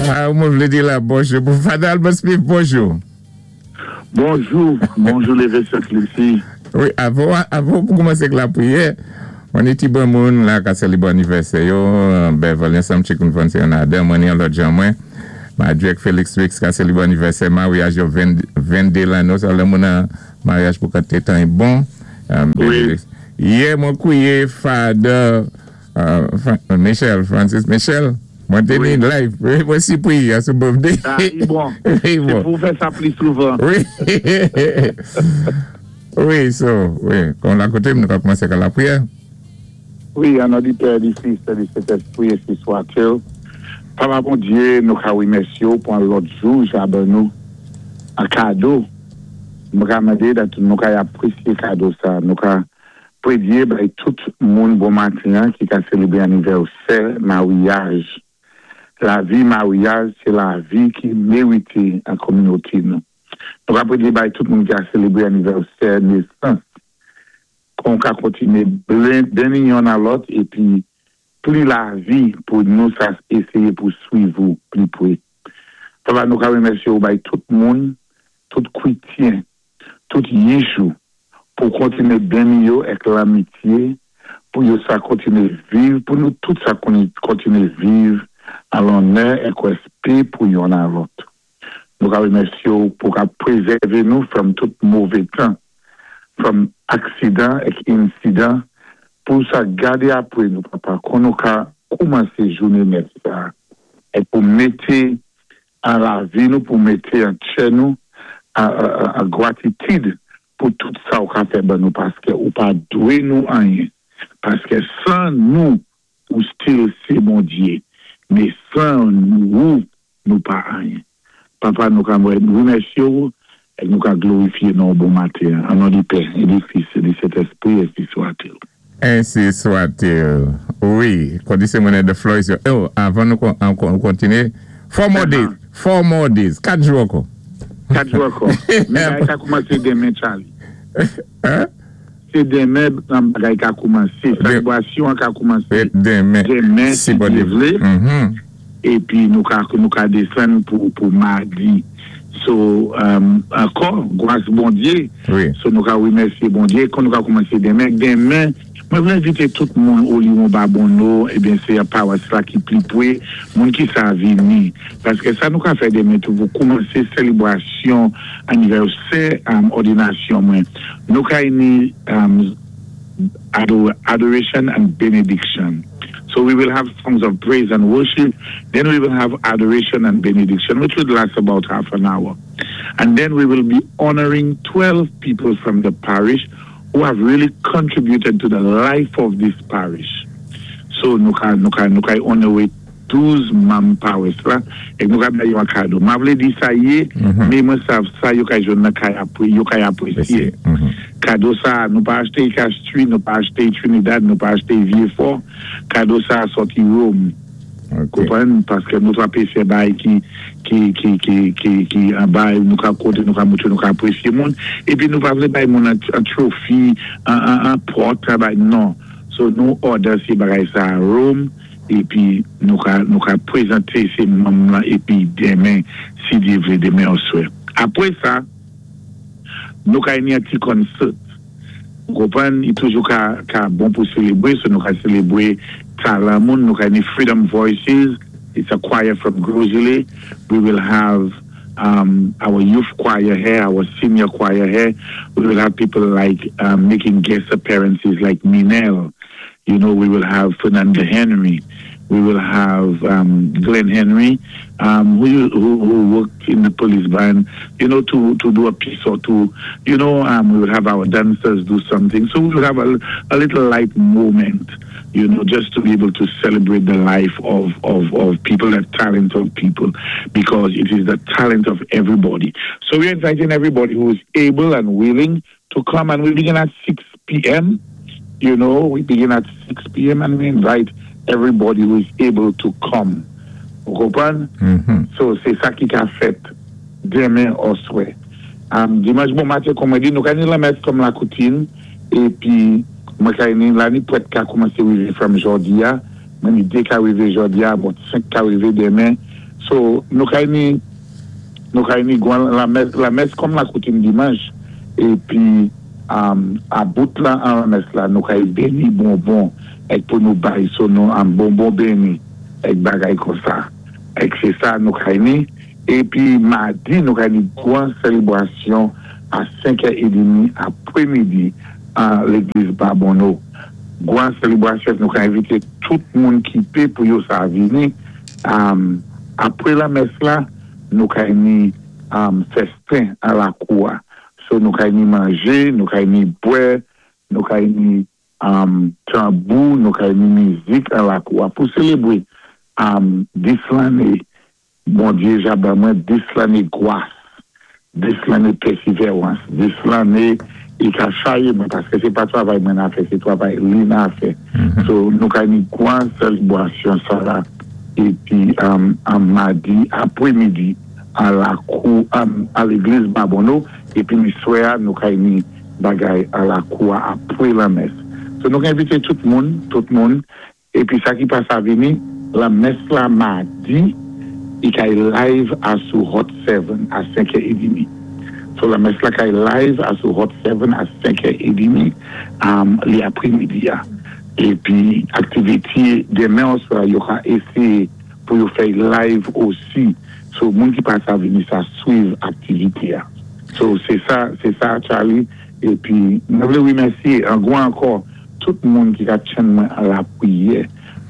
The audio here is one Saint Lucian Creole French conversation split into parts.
Ah, mwen vlé di la bonjou pou Father Albert Smith, bonjou. Bonjou, bonjou Lévêque Saint-Lucie. Wi, avan avan pou koumansé ak lapriyè, mwen ni ti bon moun la ka sélébwé anivèsè yo, Beverly ansanm Chicken Van sé yon adan, mwen ni yon lòt jan mwen, Madrek Felix Wix ka sélébwé anivèsè maryaj yo 22 lanno, sa lè moun an maryaj pou kantité tan y bon. Wi. Yè mwen kwiye Father Michel, Francis Michel, mwen te ni live, mwen sipri a sou birthday. Ah, li bon. Se pou w fè sa pli souvan. Wi. Wi, so, wi, kon la kote m nou ka koumanse ka lapriyè. Wi, an non di Pè, di Fis, e di Sentespri, ensi swatil. Papa Bondye, nou ka remèsye w pou an lòt jou sa ban nou an kado. Nou ka mande dat nou ka apresye kado sa. Nou ka Predye bay tout moun bon maten an ki ka selebre anivèsè maryaj. Lavi maryaj se lavi ki merite an kominote nou. Nou ka predye bay tout moun ki ka selebre anivèsè nesans kon ka kontinye beni yonn a lòt epi pli lavi pou nou sa eseye pou swiv ou pli pre. Papa nou ka remèsye ou bay tout moun, tout kwityen tout yich ou pou kontine beni yo èk lanmitye pou yo sa kontine viv pou nou tout sa kontine viv an lonnè èk rèspé pou yonn a lòt. Nou ka remèsye w pou ka prezève nou from tout move tan, from aksidan èk insidan pou sa gade apre nou papa kon nou ka koumanse joune nèf sa èk pou mete an lavi nou pou mete an tchè nou an gwatitid pou tout sa ou ka fè ban nou paskè ou pa dwe nou anyen paskè nou ou still se Bondye men 'ou nou pa anyen papa nou ka remèsye ou e nou ka glorifye non bon maten an non di Pè e di Fis e di Sentespri ensi swatil. Ensi swatil. Wi, kondisyon mwen the floor is your oh, avan nou kontinye, four more days, four more days, 4 jou ankò. 4 jou ankò. Men bagay ka koumanse demen Charlie. Hein? Se demen bagay ka koumanse. Selebrasyon an ka koumanse demen, demen si Dye vle. Epi nou ka nou ka desann pou pou madi. So ankò gras Bondye. So nou ka remèsye Bondye kon nou ka koumanse demen. Demen mwen vle envite tout moun Oliwon Babonneau ebyen se pawas la ki pli pwe moun ki sa vini. Paske sa nou ka fè demen tou pou koumanse selebrasyon anivèsè òdinasyon mwen. Nou ka ini adoration and benediction. So we will have songs of praise and worship. Then we will have adoration and benediction, which would last about half an hour. And then we will be honoring 12 people from the parish who have really contributed to the life of this parish. So nou ka nou ka nou ka onore 12 manm pawas la e nou ka bay yo an kado. Ma vle di sa ye, men mwen sav sa yo ka jwenn nan kay apre, yo kay apresye. Kado sa, nou pa achte i Castries, nou pa achte i Trinidad, nou pa achte i Vieux-Fort. Kado sa sòti Rome. Konprann? Paske nou pa pe fè bagay ki ki ki ki ki ki anba nou ka kote nou ka moutre nou ka apresye moun. Epi nou pa vle bay moun an an trophy, an an an pòt, an bay non. So nou order se bagay sa Rome epi nou ka nou ka prezante se manm lan epi demen si Dye vle demen oswè. Apre sa nou ka ini an ti concert. Ou konprann? Li toujou ka ka bon pou selebre, so nou ka selebre talan moun, nou ka ini Freedom Voices, it's a choir from Gros Islet, we will have um our youth choir here, our senior choir here, we will have people like um making guest appearances like Minel, you know, we will have Fernando Henry, we will have um Glenn Henry um who who who worked in the police band, you know, to to do a piece or two, you know, um we will have our dancers do something, so we will have a a little light moment, you know, just to be able to celebrate the life of of of people, the talent of people, because it is the talent of everybody. So we are inviting everybody who is able and willing to come and we begin at 6 p.m. You know, we begin at 6 p.m. and we invite everybody who is able to come. Ou konprann? So, se sa ki ka fèt demen oswè. Um, dimanch bon maten, kòm mwen di, nou ka ni lanmès kòm la koutim, epi mwen ka ni la ni prèt ka koumanse rive from jodi a, mwen ni de ka rive jodi a, bon, 5 ka rive demen. So nou kay ni nou kay ni gwan lamès lamès kòm lakoutim dimanch épi a bout la an lamès la nou kay beni bonbon èk pou nou bay so nou bonbon beni èk bagay konsa èk sé sa nou kay ni épi madi nou kay ni gwan sèlebwasyon a 5 è edemi apremidi an legliz Babonneau gwan sèlebrasyon èk nou ka envité tout moun ki pé pou yo sa vini. Apre lamès la, nou kay ni fèsten an lakou a. So nou kay ni manje, nou kay ni bwè, nou kay ni tanbou, nou kay ni mizik an lakou a pou selebre 10 lanne Bondye ja ban mwen 10 lanne gwas, 10 lanne pèsivèwans, 10 lanne li ka chaye mwen paske se pa travay mwen nan fè se travay li nan fè. So nou ka ni gwan sèlebwasyon sa la epi madi apre midi an lakou an legliz Babonneau epi ni swè a nou ka ni bagay an lakou a apre lanmès. So nou ka envite tout moun, tout moun Epi sa ki pa sa vini lan mès la madi i kay live a sou hot 7 a 5 è edimi so lan mès la kay live a sou hot 7 a 5 è edimi li apre midi a epi activity demen oswa yo ka eseye pou yo fèy live osi so moun ki pa sa vini sa swiv activity a so se sa se sa Charly epi mwen vle remèsye an gwan ankò. Tout moun ki ka tchenn mwen a lapriyè,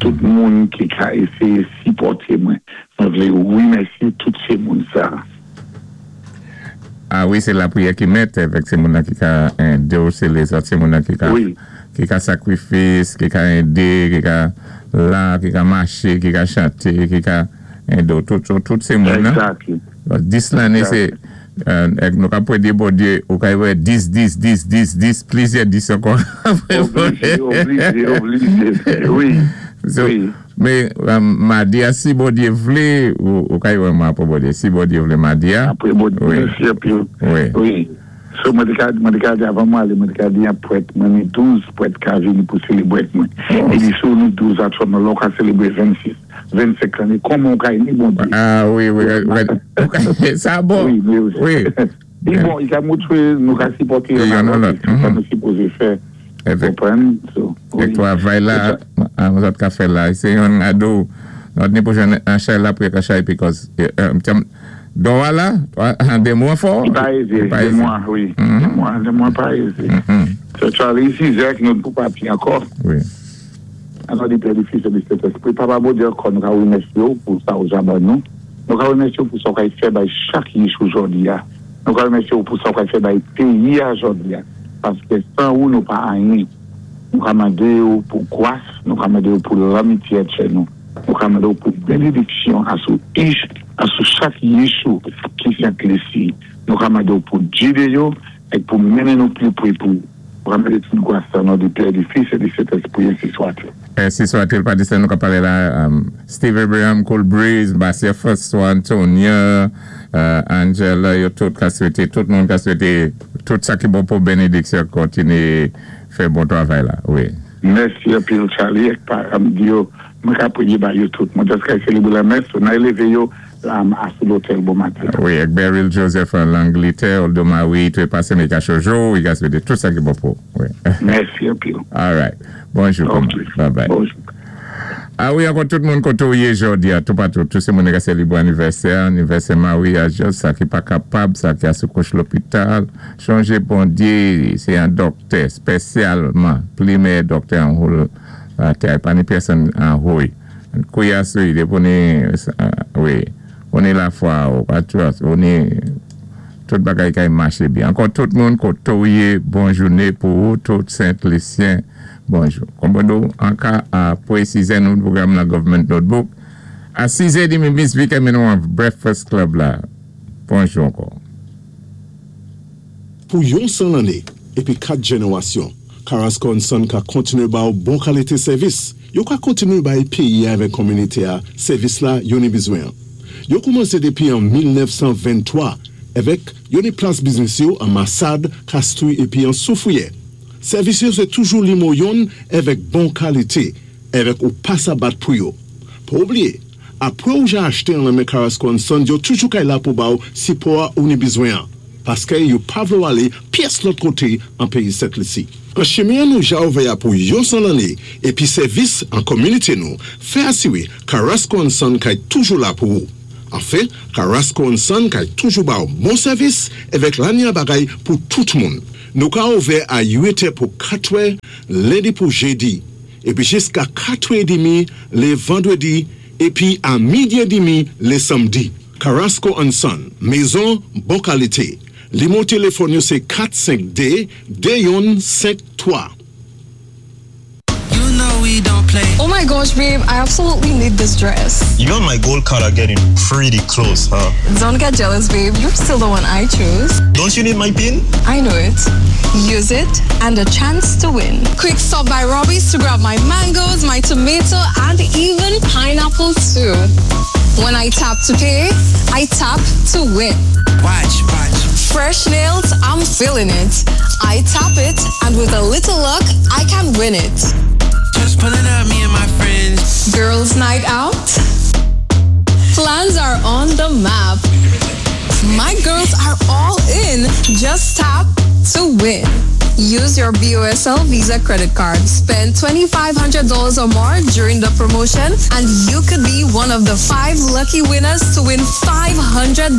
tout moun ki ka eseye sipòte mwen, mwen vle remèsye tout se moun sa. A wi se lapriyè ki mèt evèk se moun nan ki ka endew se lezòt se moun nan ki ka ki ka sakrifis ki ka ede ki ka la ki ka mache ki ka chante ki ka endew tout tout se moun nan 10 lane se Èk nou ka pwede Bondye ou ka wè 10 10 10 10 10 plizyè 10 ankò. Oblije oblije oblije wi wi. Men madi a si Bondye vle ou ka wè mwen apre Bondye si Bondye vle madi a. Apre Bondye mèsi anpil wi. So mwen te ka mwen te ka di avan mwen ale mwen te ka di yon prèt mwen ni 12 prèt ka vini pou selebre ak mwen. Li di si w ni 12 aktyèlman lè w ka selebre 26. 25 lane kòman ou ka eme Bondye. Ah wi wi sa bon wi. Li bon li ka moutre nou ka sipòte yonn a lòt se sa nou sipoze fè konprann. E travay la nou sot ka fè la se yon ado nou ni pou jwenn an chay la pou yo ka chay because dò a la de mwa fò. Li pa eze de mwa wi de mwa pa eze. Sè Charly Isaac nou pou pati ankò. Wi. An non di Pè, di Fis e di Sentespri, Papa Bondye ankò nou ka remèsye w pou sa ou ja ban nou, nou ka remèsye w pou sa ou kay fè bay chak yich ou jòdi a, nou ka remèsye w pou sa ou kay fè bay peyi a jòdi a, paske san ou nou pa anyen. Nou ka mande w pou gwas, nou ka mande w pou lanmitye atchè nou, nou ka mande w pou benediksyon asou ich, asou chak yich ou ki Sent Lisi, nou ka mande w pou gide yo èk pou mennen nou pli pre pou. Mwen mete tout gwas sa non di Pè, di Fis e di Sentespri ensi swatil. Ensi swatil pa di sa nou ka pale la Steve Abraham Cool Breeze Marcia François Antonia Angela yo tout ka swete tout moun ka swete tout sa ki bon pou benediksyon kontinye fè bon travay la wi. Mèsi anpil Charly ak paranm di yo mwen ka priye ba yo tout mwen just kay selebre lanmès so nan eleve yo A sou lotèl bon maten. Wi, ak Beryl Joseph an Langlitè, Oldo Marie Trepase Mega Jojo, wi ka swete tout sa ki bon pou ou. Wi. Mèsi anpil. Alright. Bonjou kòman. Ok. Bye bye. Bonjou. A wi ankò tout moun kote ou ye jodi a toupatou tout se moun ki ka selebre anivèsè anivèsè maryaj yo sa ki pa kapab sa ki a sou kouch lopital chonje Bondye se yon dòktè spesyalman pli meyè dòktè an whole latè a pa ni pèsonn an hoy. Kouya sou depi ou ni wi ou ni lafwa ou pa trust ou ni tout bagay kay mache byen ankò tout moun kote ou ye bon joune pou ou tout sent lisyen bonjou konbon anka apre sizè nou pwogram nan government notebook a sizè demi miss Vicky mennen w an breakfast club la bonjou ankò. Pou yon 100 lanné épi 4 jènérasyon, Carrasco and Son ka kontinué ba-w bon kalité sèvis. Yo ka kontinué bay péyi-a avèk konminité-a sèvis la yo ni bizwen an. Yo koumansé dépi an 1923 avèk yo ni plas biznis yo an Masad, Kastri épi an Soufriyè. Sèvis yo sé toujou limo yonn avèk bon kalité avèk ou pa sa bat pou yo. Pa oublié! Apwé ou ja achté an lan men Carrasco and Sons, yo toujou kay la pou ba-ou sipò-a ou ni bizwen-an, paské yo pa vlé-w alé pyès lòt koté an péyi Sent Lisi. An chimen-an nou ja ouvè-a pou yon 100 lanné épi sèvis an kominité nou fè asiré Carrasco and Son kay toujou la pou ou. Anfen, Carrasco and Son kay toujou ba-w bon sèvis èvèk lanya bagay pou tout moun. Nou ka ouvè a 8 è pou 4 è lendi pou jedi épi jiska 4 è demi lé vandwédi épi a midi é demi lé sanmdi. Carrasco and Son, mezon bon kalité. Limwo téléfòn yo sé 4 5 2 2 youn 5 3. You know we don't play. Oh my gosh, babe, I absolutely need this dress. You and my gold card are getting pretty close, huh? Don't get jealous, babe. You're still the one I choose. Don't you need my pin? I know it. Use it and a chance to win. Quick stop by Robbie's to grab my mangoes, my tomato, and even pineapple too. When I tap to pay, I tap to win. Watch, watch. Fresh nails, I'm feeling it. I tap it, and with a little luck, I can win it. Just pulling up, me and my friends. Girls night out? Plans are on the map. My girls are all in. Just tap to win. Use your BOSL Visa credit card. Spend $2,500 or more during the promotion and you could be one of the five lucky winners to win $500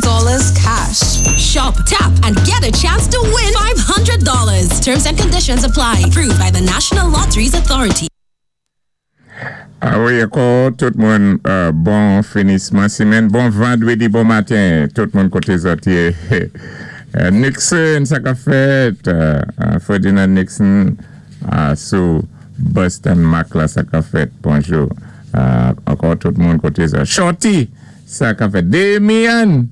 cash. Shop, tap, and get a chance to win $500. Terms and conditions apply. Approved by the National Lotteries Authority. A wi, ankò tout moun bon finisman simenn, bon vandwédi, bon maten, tout moun koté zòt yé. Nixon, sa ka fèt? Ferdinand Nixon sou Boston Mac la, sa ka fèt? Bonjou. Ankò tout moun koté zòt. Shorty, sa ka fèt? Demian,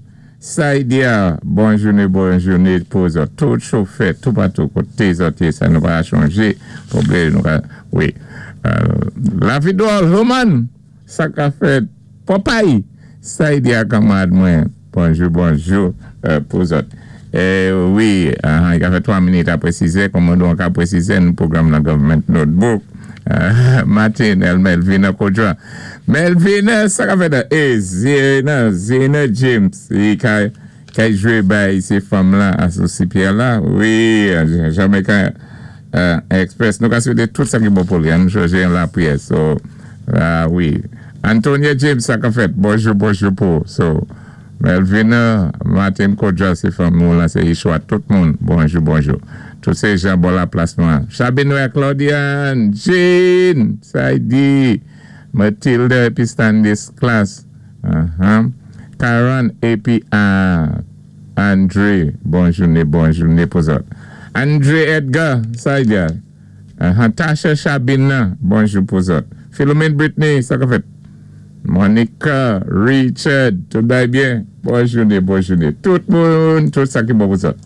Saidia, bon jouné, bon jouné pou zòt. Tout chofè, tout patou koté zòt yé, sa nou pa chonjé, pwoblé nou ka, wi. Lavidor Roman, sa ka fèt? Popeye, Saidia kanmwad mwen, bonjou, bonjou pou zòt. Wi, i ka fè 3 minit apwé 6 è, kòman nou ka pwésizé nou pwogram nan Government Notebook. Martin El Melvina Kodra. Melvina, sa ka fèt? E, Zena, Zena James, i ka, kay jwé bay sé fanm la, asosi Pierre la, wi, Jamaica Express. Nou ka swété tout sa ki bon pou li, an nou chonjé an lapwiyè. So, wi. Antonia James, sa ka fèt? Bonjou, bonjou pou. So, Melvina, Martin Kodra, sé fanm nou la, sé Ishwa, tout moun, bonjou, bonjou. Tout sé jan bò la plas nou an. Chabenoy Claudiane, Jean, Saidi, Matilda épi Stanley Class, Karen épi André, bon jouné, bon jouné pou zòt. André Edgar, Saidia, Tasha Chabina, bonjou pou zòt. Philomene Britney, sa ka fèt? Monica, Richard, tout bay byen? Bon jouné, bon jouné. Tout moun, tout sa ki bon pou zòt.